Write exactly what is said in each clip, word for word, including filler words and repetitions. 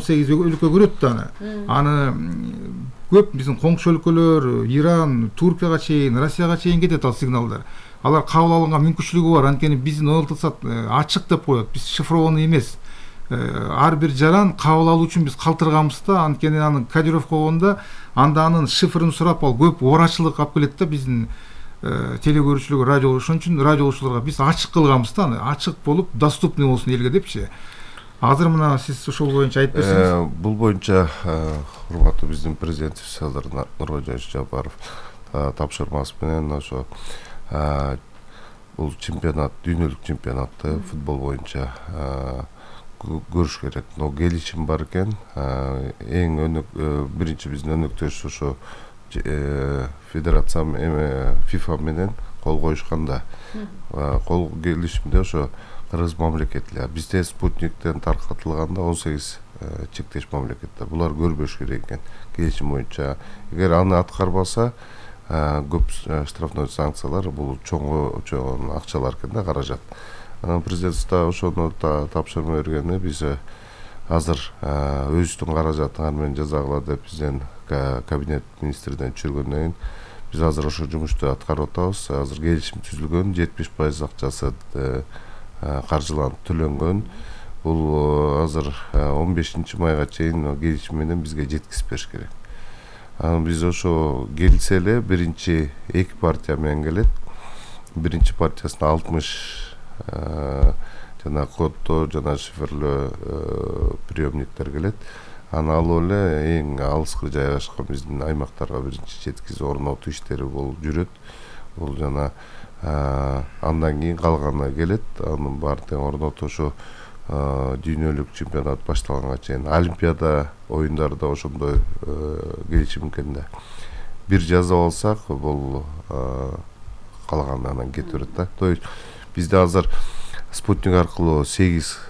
сегиз өлкө көрөт да аны. Аны көп биздин коңшу өлкөлөр, Иран, Туркияга чейин, Россияга чейин кетет ал сигналдар. Алар кабыл алганга мүмкүнчүлүгү бар. Анткени биздин ОЛТСАТ ачык деп коет. Биз шифрованный эмес. Ар бир жаран кабыл алуу үчүн биз калтырганбыз да, анткени аны кодировка болгондо анда анын шифрын сурап ал көп оорачылык алып келет да биздин телекөрүүчүлөр, радио. Ошон үчүн радиолучуларга биз ачык кылганбыз да, аны ачык болуп доступный болсун элге депчи. Азыр мына сиз ошол боюнча айтып берсеңиз. Бул боюнча урматтуу биздин президентибиз Садыр Нуркожоевич Жапаров тапшырмасы менен ошо бул чемпионат, дүйнөлүк чемпионатты футбол боюнча көрүш керек. Но келишим бар экен. Эң өнөк биринчи биздин өнөктөш ошо федерация эме ФИФА менен кол коюшканда кол келишимде ошо кыргыз мамлекети. Бизде спутниктен таркатылганда он сегиз чектеш мамлекеттер. Булар көрбөш керек экен келишим боюнча. Эгер аны аткарбаса көп штрафной санкциялар, бул чоң чоң акчалар экен да, каражат. Анан президентибизде ошону тапшырма бергени биз азыр өзүбүздүн каражатын менен жазагыла деп бизден кабинет министринен түшүргөндөн кийин биз азыр ошо жумушту аткарып атабыз. Азыр келишим түзүлгөн, жетимиш пайыз акчасы каржыланып төлөнгөн. Бул азыр он бешинчи майга чейин келишим менен бизге жеткизип бериш керек. Анан биз ошо келсе эле биринчи эки партия менен келет. Биринчи партиясына алтымыш жана коддо жана шифрлөө приемниктер келет. Аны алып эле эң алыскы жайгашкан биздин аймактарга биринчи жеткизип орнотуу иштери болуп жүрөт. Бул жана андан кийин калганы келет. Анын баардыгын орнотуу ошо дүйнөлүк чемпионат башталганга чейин, Олимпиада оюндарда ошондой келишим экен да. Бир жазып алсак, бул калганы анан кетип берет да. То есть бизде азыр спутник аркылуу сегиз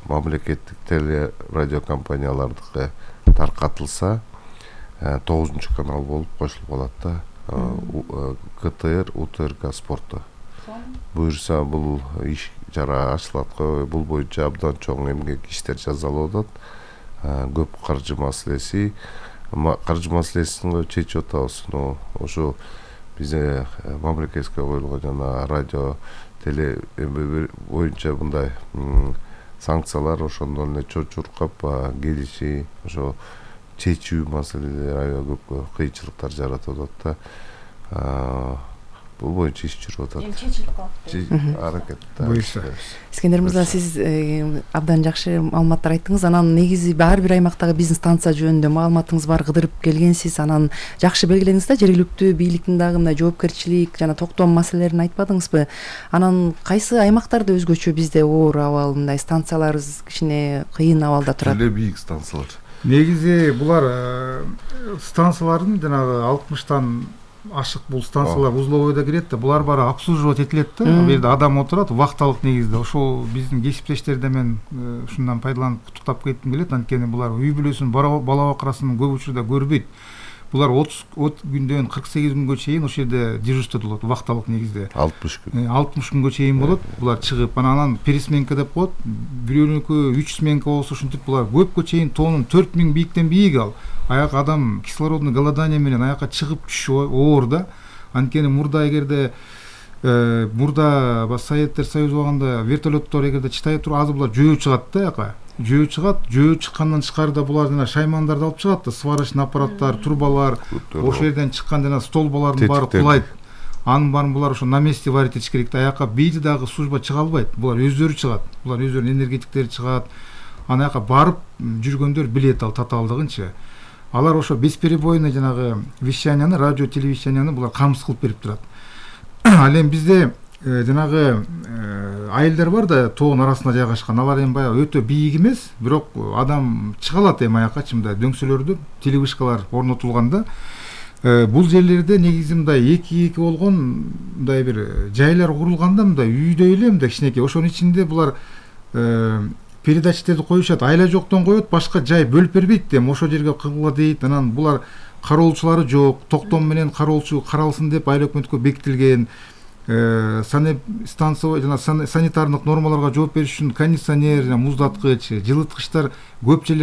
мамлекеттик теле радио компаниялардыкы таркатылса, тогузунчу канал болуп кошулуп калат да. КТР, УТРК спорту. Буюрса бул иш жара ачылат го. Бул боюнча абдан чоң эмгек иштер жасалып атат. Көп каржы маселеси, каржы маселесин чечип атабыз. Ошо бизде мамлекетке коюлган жана радио теле боюнча мындай санкциялар ошондон эле чочуркап келиши, ошо чечүү маселелери аябай көп кыйынчылыктар жаратып атат да. Бул боюнча иш жүрүп атат. Эми чечилип калат. Аракет. Искендер мырза, сиз абдан жакшы маалыматтар айттыңыз. Анан негизи ар бир аймактагы бизнес станция жөнүндө маалыматыңыз бар, кыдырып келгенсиз. Анан жакшы белгиледиңиз да, жергиликтүү бийликтин дагы мындай жоопкерчилик жана токтом маселелерин айтпадыңызбы? Анан кайсы аймактарда өзгөчө, бизде оор абал, мындай станцияларыбыз кичине кыйын абалда турат? Эле бийик станциялар. Негизи булар станциялардын жанагы алтымыштан ашык бул станциялар узловойдо кирет да, булар баары обслуживать этилет да. Ал жерде адам отурат вахталык негизде. Ошол биздин кесиптештерди мен ушундан пайдаланып куттуктап кетким келет. Анткени булар үй бүлөсүн, бала бакырасын көп учурда көрбөйт. Булар отуз күндөн кырк сегиз күнгө чейин ошол жерде дежурство болот, вахталык негизде. алтымыш күн. алтымыш күнгө чейин болот. Булар чыгып, анан пересменка деп коет. Бирөөнүкү үч сменка болсо ушинтип булар көпкө чейин тоонун төрт миң бийиктен бийик ал. Аяк адам кислородный голодание менен аякка чыгып түшүү оор да. Анткени мурда эгерде мурда Советтер Союзу убагында вертолеттор эгерде чытай туруп азыр булар жөө чыгат да аяка. Жөө чыгат, жөө чыккандан тышкарыда булар жана шаймандарды алып чыгат да, сварочный аппараттар, турбалар, ошол жерден чыккан жана столбалардын баары кулайт. Анын баарын булар ошо на месте варить этиш керек да. Аякка бийди дагы служба чыга албайт. Булар өздөрү чыгат. Булар өздөрүнүн энергетиктери чыгат. Аны аякка барып жүргөндөр билет ал татаалдыгынчы. Алар ошо бесперебойный жанагы вещанияны, радио телевещанияны булар камсыз кылып берип турат. Ал эми бизде жанагы айылдар бар да, тоонун арасында жайгашкан. Алар эми баягы өтө бийик эмес, бирок адам чыга алат эми аякка, мындай дөңсөлөрдө телевышкалар орнотулганда. Бул жерлерде негизи мындай эки-эки болгон мындай бир жайлар курулганда, мындай үйдөй эле мындай кичинекей. Ошонун ичинде булар передатчиктерди коюшат, айла жоктон коет, башка жай бөлүп бербейт да, ошол жерге кылгыла дейт. Анан булар кароолчулары жок, токтом менен кароолчу каралсын деп айыл өкмөткө бекитилген. Санеп станция жана санитардык нормаларга жооп бериш үчүн кондиционер, муздаткыч, жылыткычтар көп жерлерде